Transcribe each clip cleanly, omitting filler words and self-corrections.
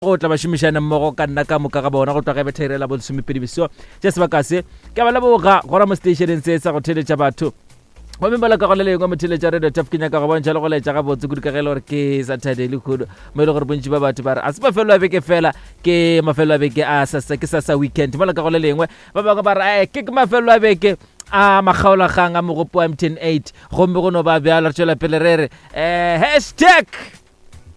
Go tla bašomišane mmogo ka nna ka moka ga bona go tloga betha irela bolesomepedi beso tša sebaka se ke ba leboga gona mo stationeng se sa go theletša batho. Gomme mola ka go le lengwe motheletša Radio Taf ke nyaka go bontšha le go laetša gabotse kudu ka ge e le gore ke Saturday le khudu mo e le gore bontši ba batho ba re a se mafelo a beke fela ke mafelo a beke a sasa ke sasa weekend. Mola ka go le lengwe ba bangwe ba re ke ke mafelo a beke a makgaolakgang a mogopo wa MTN 8 gomme go no ba bjalo re tšwela pele re re hashtag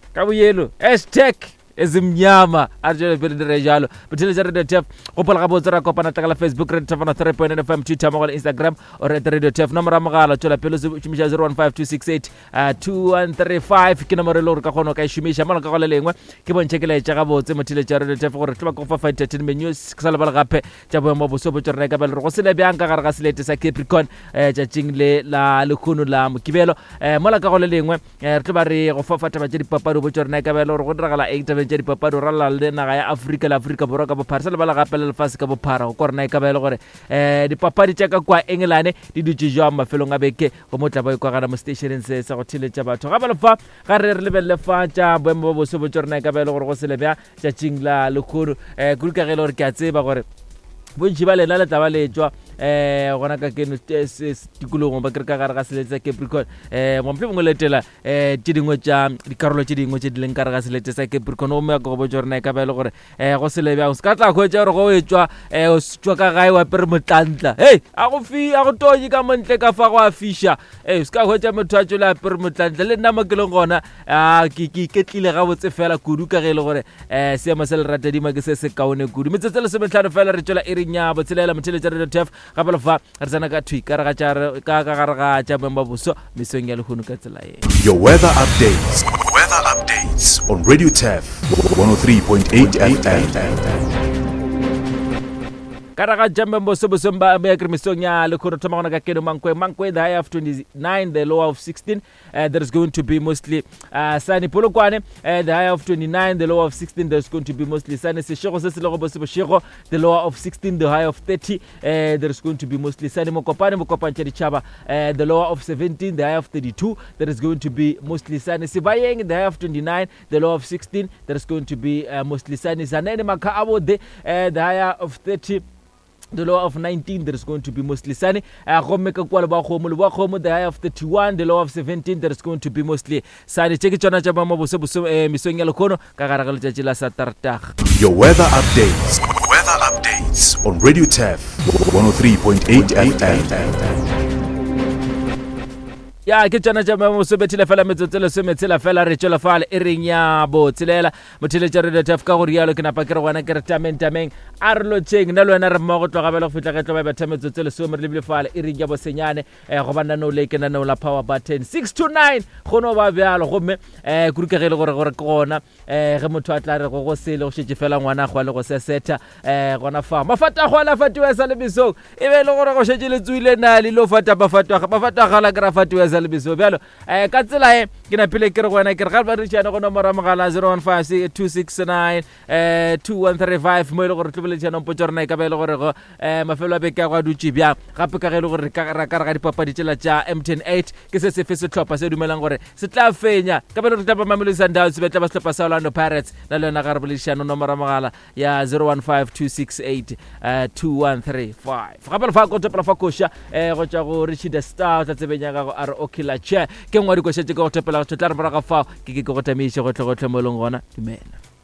ka boyelo hashtag ezimnyama a re tšwele pele dire jalo botheletša Radio Tef gopola gabotse ra kopana tlakala Facebook Radio Tef 3.9 FM Twitter mmogo le Instagram o re Radio Tef nomoro ya mogala tšwela pele o šomiša 015268 2135 ke nomoro e le gore ka kgona o ka e šomiša mola ka go le lengwe ke bontšhe ke laetša gabotse motheletša Radio Tef gore tlo ba go fa entertainment news ke sa lebale gape tša boemo boso bo tšorena ka bele gore go sele bjang ka gare ga selete sa Capricorn tšatšing le la lekgono la Mokibelo mola ka go le lengwe Re tlo ba re go fa fa taba tša dipapadi, go botša gore na e ka ba e le gore go diragala eng tabeng tša dipapadi go ralala le naga ya Afrika le Afrika Borwa ka bophara. Sa lebala gape le lefase ka bophara go kwa gore na e ka ba e le gore um dipapadi tša ka kua Engelane di dutše jwang mafelong a beke gomme o tla ba e kwa gana mo seteišeneng se sa go theeletša batho. Gape le fa ga re re lebelele fa tša boemo bo boso botša gore na e ka ba e le gore go sele bjang tšatšing la lekgono um kudu ka ge e le gore ke a tseba gore bontši ba lena le tla ba le tšwa um gona ka keno tikologong ba kere ka gare ga selete sa Capricorn um mohlomongwe mongwe letela um tše dingwe tša dikarolo tše dingwe tše di leng ka gare ga selete sa Capricorn gomme ya ko go botša gore na e ka ba e le gore um go sele bjang se ka tla hwetša gore go e tšwa um o tšwa ka gae wa pere motlantla hei a go fi a go tonye ka montle ka fa go a fiša ee se ka hwetša motho a tšwele a pere motlantla le nna mo ke leng gona a ke ke iketlile gabotse fela kudu ka ge e le gore um seemo se leratadima ke se se kaone kudu. Metsotso e lesometlhano fela re tšwela iring ya botshelela motheletša Radio Turf gape le fa re tsena ka thwi ka ka gare ga tša boemo ba boso mesong ya lehono ka tsela ye. Your weather updates. Weather updates on Radio Turf 103.8 FM. Ka gare ga tša boemo boso bosong ba ya kere mesong ya lehono thoma gona ka keno Mankwe Mankwe the high of 29 the lower of 16. There is going to be mostly sunny. Polokwane, the higher of 29, the lower of 16. There's going to be mostly sunny. Seshego se se lego bose bošego, the lower of 16, the higher of 30. There is going to be mostly sunny. Mokopane, Mokopane tša ditšhaba, the lower of 17, the higher of 32. There is going to be mostly sunny. Sebayeng, the higher of 29, the lower of 16. There is going to be mostly sunny. Zanene, Makha Abode, the higher of 30, the lower of 19. There is going to be mostly sunny. Gomme ka kua Leboakgomo, Leboakgomo, the higher of 31, the lower of 17. There is going to be mostly sunny. Tše ke tšona tša boemo bose bose mesong ya lekgono ka gare ga letšatši la Saterdag. Your weather updates. Weather updates on Radio Turf 103.8 FM. Ya ke tšona tša boemo bose bethile fela metsotso lesometshela fela re tšwela fale e reng ya botshelela Motheeletša Radio Turf ka go rialo ke napa ke re gona ke re tameng tameng a re lotšheng nna le wena re mmogo tloga bjale go fihla ge tlo ba betha metsotso lesome re lebile fale e ring ya bosenyane um goba naneo le ke naneo la power button 6 to 9 go no ba bjalo gomme um kudu ka ge e le gore gore ke gona um ge motho a tla re go go sele go šetše fela ngwana gwa le go sesetha um gona fa mafata a go ala fatiwa sa le mesong e be e le gore go šetše le tsoile na le lo fata mafato mafato a gala ke ra fatiwa sa le mesong bjalo Eh, ka tsela e ke napile ke re go wena ke re ga ba rešane go nomoro ya mogala 015 269 2135 mo e le gore tlo boledišana mpotsa rena e ka ba e le gore go eh, mafelo a beke a go a dutše bjang gape ka ge e le gore ka ra ka re ga dipapadi tšela tša MTN 8 ke se sefe sehlopha se dumelang gore se tla fenya ka ba le gore tla ba Mamelodi Sundowns be tla ba sehlopha sa Orlando Pirates na le yona ga re boledišano nomoro ya mogala ya 015268 2135 gape lefa ko topela fa koša um go tšwa go Richie the Star o tla tsebeng ya gago a re okay la che ke nngwe ya dikoša tše ke go topela go tla re morago fao ke ke ke go tamiše gotlhe gotlhe mo e leng gona dumela.